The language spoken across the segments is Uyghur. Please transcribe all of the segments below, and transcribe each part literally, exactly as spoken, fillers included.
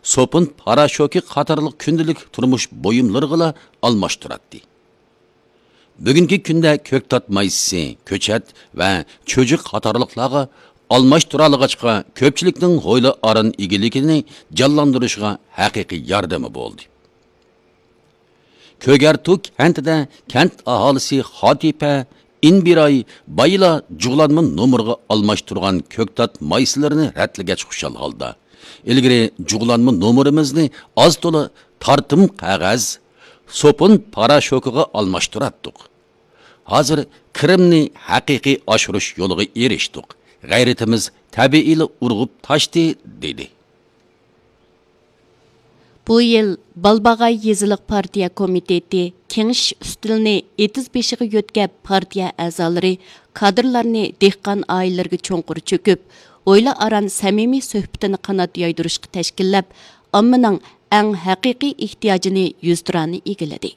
سوپۇن پاراشوكى قاتارلىق كۈندىلىك تۇرمۇش بۇيۇملىرىغىلا ئالماشتۇراتتى. بۈگۈنكى كۈندە كۆكتات مايسىسى، كۆچەت ۋە چۆچۈ قاتارلىقلارغا ئالماشتۇرالىغاچقا، كۆپچىلىكنىڭ ھويلا ئاران ئىگىلىكىنى جانلاندۇرۇشىغا ھەقىقىي ياردىمى بولدى. كۆگەرتۇ كەنتىدە كەنت ئاھالىسى خاتىپە ئىنبىراي بايىلا جۇغلانما نومۇرغا ئالماشتۇرغان كۆكتات مايسىلىرىنى رەتلىگەچ خۇشال ھالدا، ئىلگىرى جۇغلانما نومۇرىمىزنى ئاز تولا تارتىم قەغەز، سوپۇن پاراشوكىغا ئالماشتۇراتتۇق. ھازىر كىرىمنى ھەقىقىي ئاشۇرۇش يولىغا ئېرىشتۇق. غەيرىتىمىز تەبىئىيلا ئۇرغۇپ تاشتى، دېدى. بۇ يىل بالباغاي يېزىلىق پارتىيە كومىتېتى كېڭىشىش ئۈستىلىنى ئېتىز بېشىغا يۆتكەپ، پارتىيە ئەزالىرى، كادىرلارنى دېھقان ئائىلىلىرىگە چوڭقۇر چۆكۈپ، ھويلا ئاران سەمىمىي سۆھبىتىنى قانات يايدۇرۇشقا تەشكىللەپ، ئاممىنىڭ ئەڭ ھەقىقىي ئېھتىياجىنى يۈزتۇرانە ئىگىلىدى.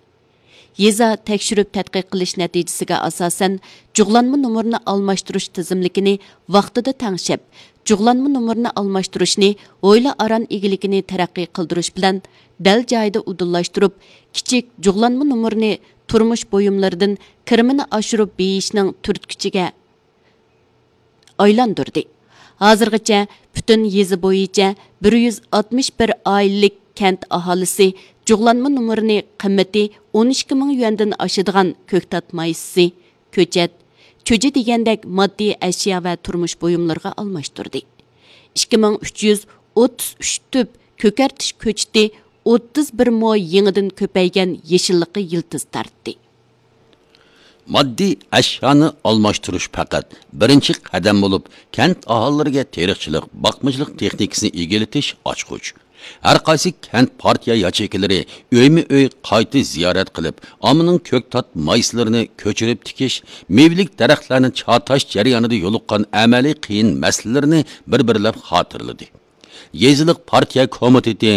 يېزا تەكشۈرۈپ تەتقىق قىلىش نەتىجىسىگە ئاساسەن، جۇغلانما نومۇرنى ئالماشتۇرۇش تىزىملىكىنى ۋاقتىدا تەڭشەپ، جۇغلانما نومۇرنى ئالماشتۇرۇشنى ھويلا ئاران ئىگىلىكىنى تەرەققىي قىلدۇرۇش بىلەن دەل جايىدا ئۇدۇللاشتۇرۇپ، كىچىك جۇغلانما نومۇرنى تۇرمۇش بۇيۇملىرىدىن كىرىمىنى ئاشۇرۇپ بېيىشنىڭ تۈرتكىچىگە ئايلاندۇردى. ھازىرغىچە پۈتۈن يېزا بويىچە بىر يۈز ئاتمىش بىر ئائىلىلىك كەنت ئاھالىسى جۇغلانما نومۇرىنى قىممىتى ئون ئىككى مىڭ يۈەندىن ئاشىدىغان كۆكتات مايسىسى، كۆچەت، چۈجە دېگەندەك ماددىي ئەشيا ۋە تۇرمۇش بۇيۇملىرىغا ئالماشتۇردى. ئىككى مىڭ ئۈچ يۈز ئوتتۇز ئۈچ تۈپ كۆكەرتىش كۆچىتى ئوتتۇز بىر مو يېڭىدىن كۆپەيگەن يېشىللىققا يىلتىز تارتتى. ماددىي ئەشيانى ئالماشتۇرۇش پەقەت بىرىنچى قەدەم بولۇپ، كەنت ئاھالىلىرىگە تېرىقچىلىق، باقمىچىلىق تېخنىكىسىنى ئىگىلىتىش ئاچقۇچ. ھەر قايسى كەنت پارتىيە ياچېيكىلىرى ئۆيمۇ ئۆي قايتا زىيارەت قىلىپ، ئاممىنىڭ كۆكتات مايسىلىرىنى كۆچۈرۈپ تىكىش، مېۋىلىك دەرەخلەرنى چاتاش جەريانىدا يولۇققان ئەمەلىي قىيىن مەسىلىلىرىنى بىر-بىرلەپ خاتىرىلىدى. يېزىلىق پارتىيە كومىتېتى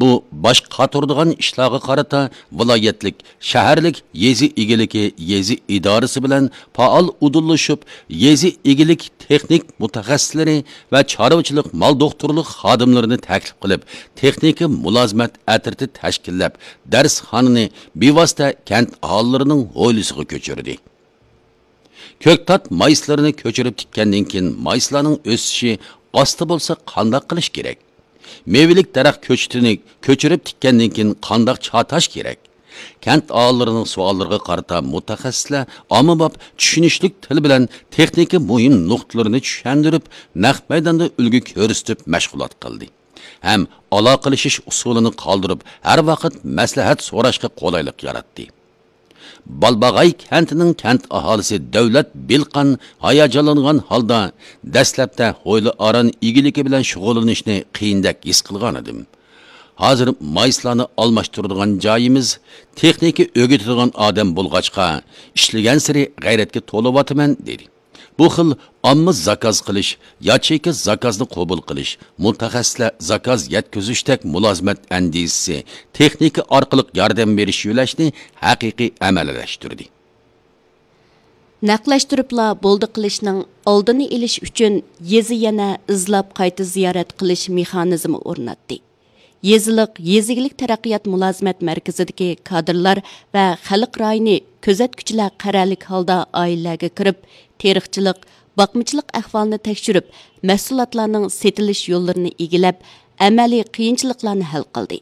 بۇ باش قاتۇرىدىغان ئىشلارغا قارىتا ۋىلايەتلىك، شەھەرلىك، يېزا ئىگىلىكى، يېزا ئىدارىسى بىلەن پائال ئۇدۇللىشىپ، يېزا ئىگىلىك تېخنىك مۇتەخەسسىسلىرى ۋە چارۋىچىلىق مال دوختۇرلۇق خادىملىرىنى تەكلىپ قىلىپ، تېخنىكا مۇلازىمەت ئەترىتى تەشكىللەپ، دەرسخانىنى بىۋاسىتە كەنت ئاھالىلىرىنىڭ ھويلىسىغا كۆچۈردى. كۆكتات مايسىلىرىنى كۆچۈرۈپ تىككەندىن كېيىن، مايسىلارنىڭ ئۆسۈشى ئاستا بولسا قانداق قىلىش كېرەك؟ مېۋىلىك دەرەخ كۆچىتىنى كۆچۈرۈپ تىككەندىن كېيىن قانداق چاتاش كېرەك؟ كەنت ئاھالىلىرىنىڭ سوئاللىرىغا قارىتا مۇتەخەسسىسلەر ئاممىباب چۈشىنىشلىك تىل بىلەن تېخنىكا مۇھىم نۇقتىلىرىنى چۈشەندۈرۈپ، نەق مەيداندا ئۈلگە كۆرسىتىپ مەشغۇلات قىلدى ھەم ئالاقىلىشىش ئۇسۇلىنى قالدۇرۇپ، ھەر ۋاقىت مەسلىھەت سوراشقا قولايلىق ياراتتى. بالباغاي كەنتىنىڭ كەنت ئاھالىسى دەۋلەت بىلقان ھاياجانلانغان ھالدا، دەسلەپتە ھويلا ئاران ئىگىلىكى بىلەن شۇغۇللىنىشنى قىيىندەك ھېس قىلغانىدىم. ھازىر مايسىلارنى ئالماشتۇرىدىغان جايىمىز، تېخنىكا ئۆگىتىدىغان ئادەم بولغاچقا، ئىشلىگەنسېرى غەيرەتكە تولۇۋاتىمەن، دېدى. بۇ خىل ئامما زاكاز قىلىش، ياچېيكا زاكازنى قوبۇل قىلىش، مۇتەخەسسىسلەر زاكاز يەتكۈزۈشتەك مۇلازىمەت ئەندىزىسى، تېخنىكا ئارقىلىق ياردەم بېرىش يۆلەشنى ھەقىقىي ئەمەلىيلەشتۈردى. نەقلەشتۈرۈپلا بولدى قىلىشنىڭ ئالدىنى ئېلىش ئۈچۈن، يېزا يەنە ئىزلاپ قايتا زىيارەت قىلىش مېخانىزمى ئورناتتى. يېزىلىق يېزا ئىگىلىك تەرەققىيات مۇلازىمەت مەركىزىدىكى كادىرلار ۋە خەلق رايىنى كۆزەتكۈچىلەر قەرەللىك ھالدا ئائىلىلەرگە كىرىپ، تېرىقچىلىق، باقمىچىلىق ئەھۋالىنى تەكشۈرۈپ، مەھسۇلاتلارنىڭ سېتىلىش يوللىرىنى ئىگىلەپ، ئەمەلىي قىيىنچىلىقلارنى ھەل قىلدى.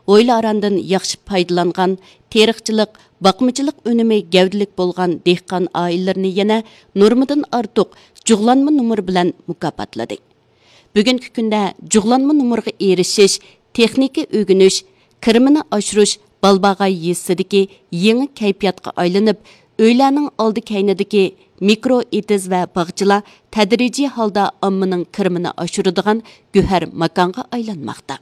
ھويلا ئاراندىن ياخشى پايدىلانغان، تېرىقچىلىق، باقمىچىلىق ئۈنۈمى گەۋدىلىك بولغان دېھقان ئائىلىلىرىنى يەنە نورمىدىن ئارتۇق جۇغلانما نومۇر بىلەن مۇكاپاتلىدى. بۈگۈنكى كۈندە جۇغلانما نومۇرغا ئېرىشىش، تېخنىكا ئۆگىنىش، كىرىمىنى ئاشۇرۇش بالباغاي يېزىسىدىكى يېڭى كەيپىياتقا ئايلىنىپ، ئۆيلەرنىڭ ئالدى كەينىدىكى مىكرو ئېتىز ۋە باغچىلار تەدرىجىي ھالدا ئاممىنىڭ كىرىمىنى ئاشۇرىدىغان گۆھەر ماكانغا ئايلانماقتا.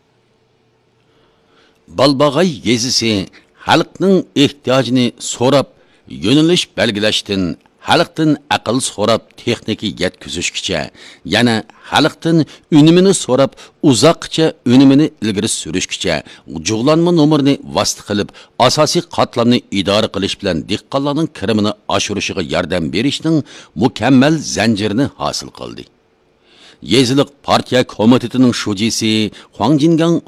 بالباغاي يېزىسى خەلقنىڭ ئېھتىياجىنى سوراپ، يۆنىلىش بەلگىلەشتىن، خەلقتىن ئەقىل سوراپ، تېخنىكا يەتكۈزۈشكىچە، يەنە خەلقتىن ئۈنۈمىنى سوراپ، ئۇزاققىچە ئۈنۈمىنى ئىلگىرى سۈرۈشكىچە، جۇغلانما نومۇرنى ۋاسىتە قىلىپ، ئاساسىي قاتلامنى ئىدارە قىلىش بىلەن دېھقانلارنىڭ كىرىمىنى ئاشۇرۇشىغا ياردەم بېرىشنىڭ مۇكەممەل زەنجىرىنى ھاسىل قىلدى. يېزىلىق پارتىيە كومىتېتىنىڭ شۇجىسى خۇاڭ جىنگاڭ